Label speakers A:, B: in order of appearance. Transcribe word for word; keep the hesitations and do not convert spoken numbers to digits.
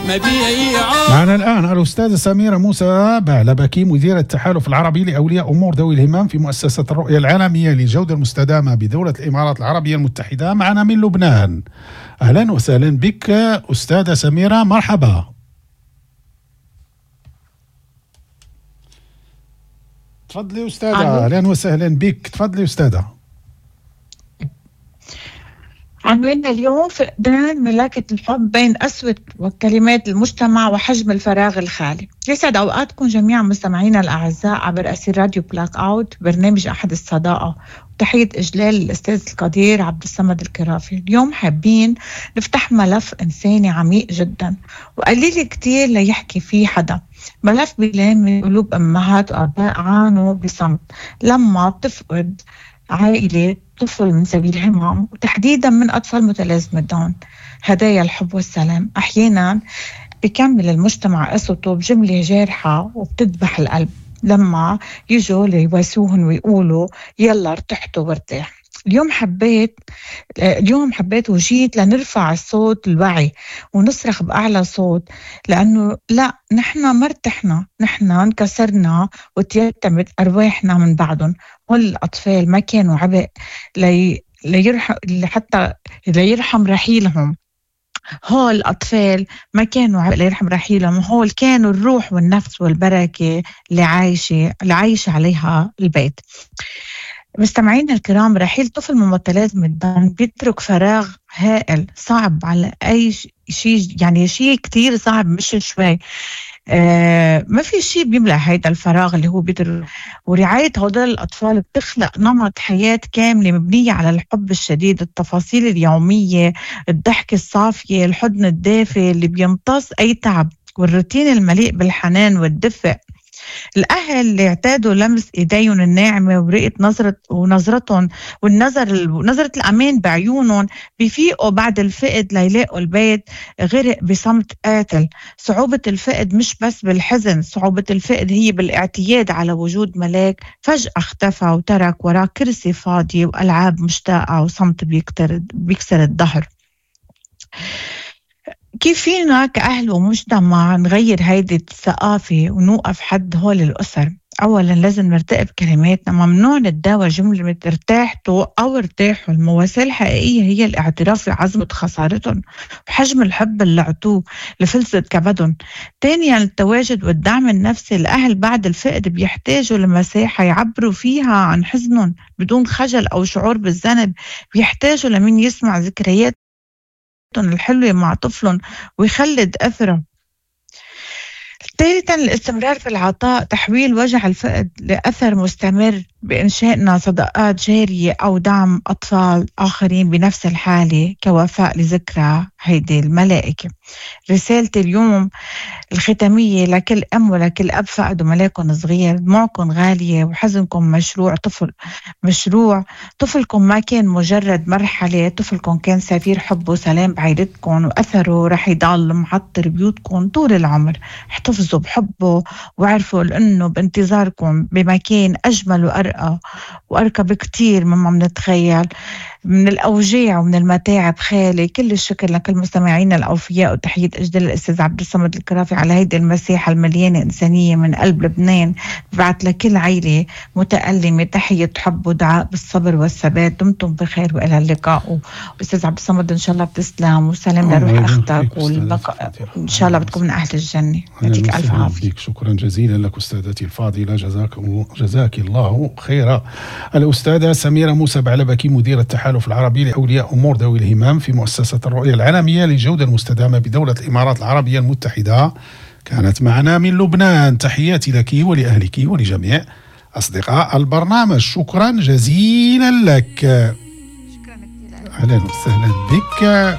A: مبيعه.
B: معنا الآن الأستاذة سميرة موسى بعلبكي، مديرة التحالف العربي لأولياء أمور ذوي الهمم في مؤسسة الرؤية العالمية للجودة المستدامة بدولة الإمارات العربية المتحدة، معنا من لبنان. أهلا وسهلا بك أستاذة سميرة، مرحبا. تفضلي أستاذة. أهلا وسهلا بك، تفضلي أستاذة.
C: عنواننا اليوم فقدان ملاكة الحب بين قسوة وكلمات المجتمع وحجم الفراغ الخالي. يسعد أوقاتكم جميعا مستمعينا الأعزاء عبر أثير راديو بلاك أوت، برنامج أحد الصداقة، وتحية إجلال الأستاذ القدير عبد الصمد الكرافي. اليوم حابين نفتح ملف إنساني عميق جدا وقليل كتير ليحكي فيه حدا، ملف بيلام قلوب أمهات وآباء عانوا بصمت لما بتفقد عائلة طفل من ذوي الهمم، وتحديدا من أطفال متلازمة داون. هدايا الحب والسلام أحيانا بيكمل المجتمع قسوته بجملة جارحة وبتذبح القلب لما يجوا ليواسوهن ويقولوا يلا ارتحتوا وارتاح. اليوم حبيت اليوم حبيت وجيت لنرفع الصوت الوعي ونصرخ بأعلى صوت، لأنه لا، نحن ما ارتحنا، نحن انكسرنا وتيتمت أرواحنا من بعضهم. والأطفال ما كانوا عبء لي ليرحم حتى ليرحم رحيلهم. هول الأطفال ما كانوا عبء ليرحم رحيلهم، هول كانوا الروح والنفس والبركة اللي عايشة اللي عايشة عليها البيت. مستمعينا الكرام، رحيل طفل من متلازمة داون بيترك فراغ هائل صعب على أي شيء، يعني شيء كتير صعب مش شوي. آه ما في شيء بيملأ هيدا الفراغ اللي هو بيترك. ورعاية هدول الأطفال بتخلق نمط حياة كاملة مبنية على الحب الشديد، التفاصيل اليومية، الضحك الصافية، الحضن الدافئ اللي بيمتص أي تعب، والروتين المليء بالحنان والدفء. الأهل اللي اعتادوا لمس إيديهم الناعمة ورقة نظرة ونظرتهم والنظر نظرة الأمان بعيونهم بيفيقوا بعد الفقد ليلاقوا البيت غرق بصمت قاتل. صعوبة الفقد مش بس بالحزن، صعوبة الفقد هي بالاعتياد على وجود ملاك فجأة اختفى وترك وراه كرسي فاضي وألعاب مشتاقة وصمت بيكسر الظهر. كيف فينا كأهل ومجتمع نغير هيدي الثقافة ونوقف حد هول الأسر؟ أولا لازم نرتقي بكلماتنا، ممنوع نتداول جملة ارتاحتوا أو ارتاحوا. المواساة الحقيقية هي الاعتراف بعظمة خسارتهم وحجم الحب اللي عطوه لفلسة كبدهم. ثانيا التواجد والدعم النفسي، الأهل بعد الفقد بيحتاجوا لمساحة يعبروا فيها عن حزنهم بدون خجل أو شعور بالذنب، بيحتاجوا لمين يسمع ذكريات الحلوة مع طفلهم ويخلد أثره. ثالثا الاستمرار في العطاء، تحويل وجع الفقد لأثر مستمر بإنشائنا صداقات جارية أو دعم أطفال آخرين بنفس الحالة كوفاء لذكرى هيدي الملائكة. رسالتي اليوم الختامية لكل أم ولكل أب فقدوا ملاكم صغير، دموعكم غالية وحزنكم مشروع طفل مشروع طفلكم ما كان مجرد مرحلة، طفلكم كان سفير حب وسلام بعيلتكم، وأثره رح يضل معطر بيوتكم طول العمر. احتفظوا بحبه وعرفوا لأنه بانتظاركم بمكان أجمل وأرقى وأرقى بكتير مما منتخيل، من الأوجاع ومن المتاعب خالي. كل الشكر لكل مستمعينا الأوفياء، وتحية أجدال الأستاذ عبد الصمد الكرافي على هيدي المساحة المليانة إنسانية من قلب لبنان. بعت لكل عائلة متألمة تحية حب ودعاء بالصبر والثبات. دمتم بخير وإلى اللقاء. وأستاذ عبد الصمد إن شاء الله بتسلم وسلام لروح أختك والبقاء، إن شاء الله بتكون من أهل الجنة. يعطيك ألف عافية.
B: شكرا جزيلا لك أستاذتي الفاضلة، جزاك جزاك الله خيرا. الأستاذة سميرة موسى بعلبكي، مديرة التحالف العربي لأولياء أمور ذوي الهمم في مؤسسة الرؤية العالمية للجودة المستدامة بدولة الإمارات العربية المتحدة، كانت معنا من لبنان. تحياتي لك ولأهلك ولجميع أصدقاء البرنامج، شكرا جزيلا لك. أهلا وسهلا بك.